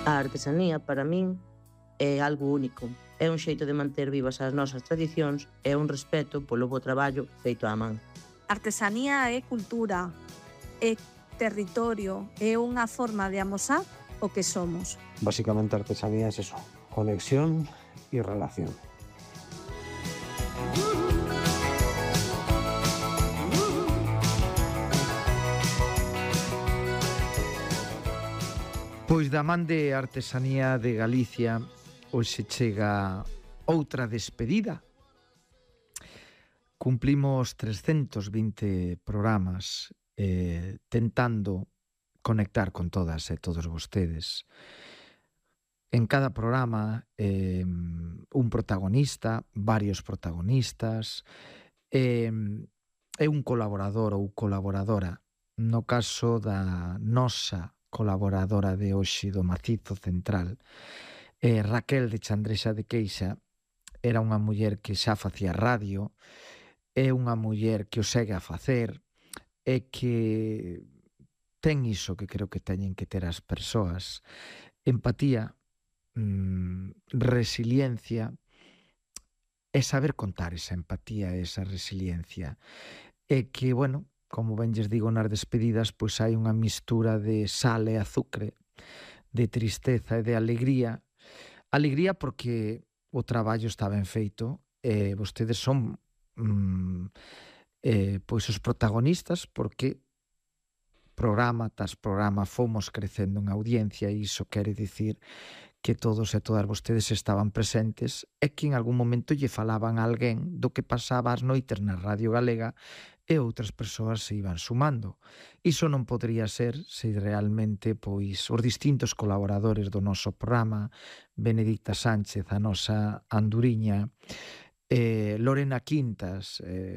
A artesanía, para min, é algo único. É un xeito de manter vivas as nosas tradicións e un respeto polo bo traballo feito á man. Artesanía é cultura, é territorio, é unha forma de amosar o que somos. Básicamente artesanía es eso, conexión y relación. Pois da man de Artesanía de Galicia hoxe chega outra despedida. Cumplimos 320 programas tentando conectar con todas e todos vostedes. En cada programa un protagonista, varios protagonistas, é un colaborador ou colaboradora. No caso da nosa colaboradora de hoxe do Macizo Central, Raquel de Chandrexa de Queixa, era unha muller que xa facía radio, é unha muller que o segue a facer e que ten iso que creo que teñen que ter as persoas: empatía, resiliencia e saber contar esa empatía e esa resiliencia. E que, bueno, como ben lles digo nas despedidas, pois hai unha mistura de sal e azucre, de tristeza e de alegría. Alegría porque o traballo está ben feito e vostedes son pois os protagonistas, porque programa tras programa fomos crecendo en audiencia e iso quere dicir que todos e todas vostedes estaban presentes e que en algún momento lle falaban a alguén do que pasaba as noites na Radio Galega e outras persoas se iban sumando. Iso non podría ser se realmente pois os distintos colaboradores do noso programa, Benedicta Sánchez, a nosa anduriña, Lorena Quintas,